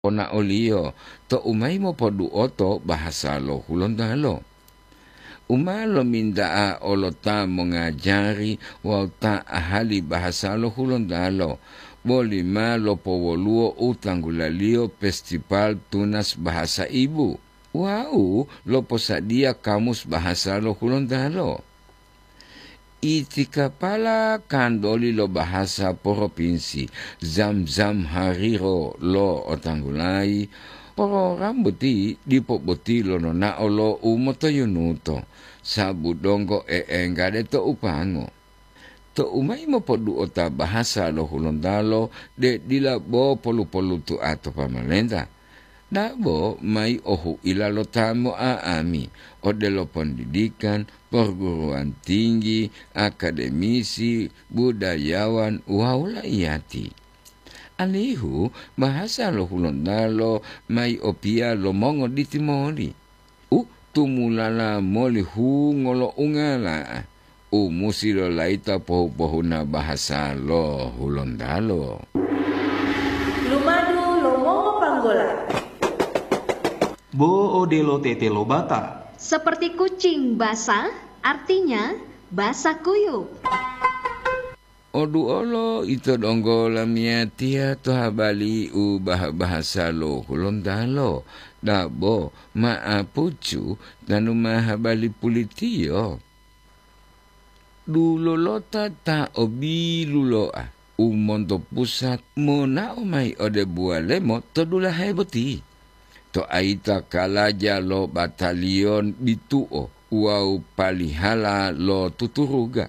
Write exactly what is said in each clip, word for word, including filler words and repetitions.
ponaoliyo tou mayi mopoduoto bahasa lo Hulontalo. U ma lominta'a olo ta mongajari wawu ta ahali bahasa lo Hulontalo, boli ma lopowoluwo u tanggulaliyo Festival Tunas Bahasa Ibu wawu loposadiya kamus bahasa lo Hulontalo. Itikapala kantoli lo bahasa propinsi, zam-zam hariro lo otanggulayi, program boti dipo boti lononao lo u motoyunuto, sabu donggo e'enggade to upango. Tou mayi mopoduota bahasa lo Hulontalo de dila bo polu-polutua to pamalenta, dabo mayi ohuila lo ta mo'a'ami, odelo pondidikan, perguruan tinggi, akademisi, budayawan wawu laiyati. Alihu bahasa lo Hulontalo mayi opiya lo mongoditi moli. U tumulala moli hungo lo ungala, u musi lolayita pohu-pohuna bahasa lo Hulontalo. Lumadu lo mongopanggola. Bo odelo tete lo bata. Seperti kucing basah, artinya basah kuyup. Oduolo ito donggo lamiyatiya to habali u bah-bahasa lo Hulontalo, dabo ma'apucu tanu ma habali pulitiyo. Dulolota ta o biluloa u monto pusat monao mayi ode Buwalemo to dulahe boti. To ayita kalaja lo bataliyon bitu'o wawu palihala lo tuturuga.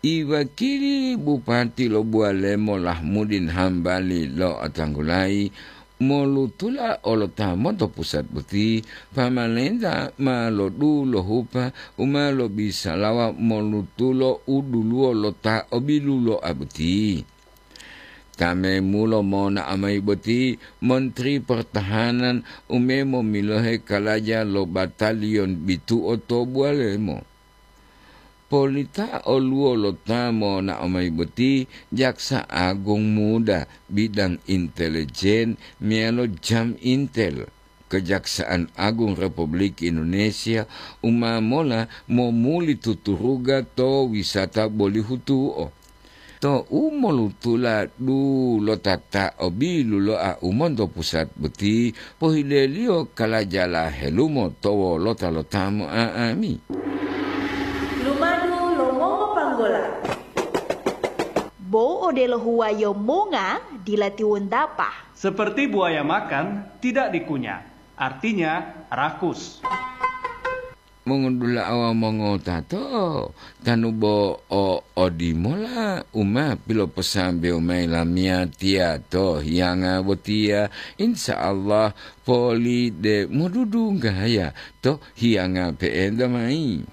Iwakili Bupati lo Buwalemo Lahmudin Hambali lo'otanggulayi molutula olo ta monto pusat boti, pamalenta ma lodulohupa u ma lobisalawa molutulo u duluwo lo ta o biluloa boti. Ta memulo monao mayi boti Menteri Pertahanan u memomilohe kalaja lo bataliyon bitu'o to Buwalemo. Polita oluwo lo ta monao mayi boti Jaksa Agung Muda bidang intelijen meyalo jam intel. Kejaksaan Agung Republik Indonesia u ma mola momuli tuturuga to wisata bolihutu'o. To u molutula dulota ta o biluloa u monto pusat boti, pohileliyo kalajala helumo to wolota lo ta mo'a'ami. Lumadu lo mongopanggola. Bo odelo huwayo monga dila tiwontapa. Seperti buaya makan, tidak dikunyah. Artinya, rakus. Mongodula'a wawu mongotato, tanu bo o odimola u ma piloposambewo mayi lamiyatiya to hiyanga botiya, insya Allah poli de modudunggaya to hiyanga pe'enta mayi.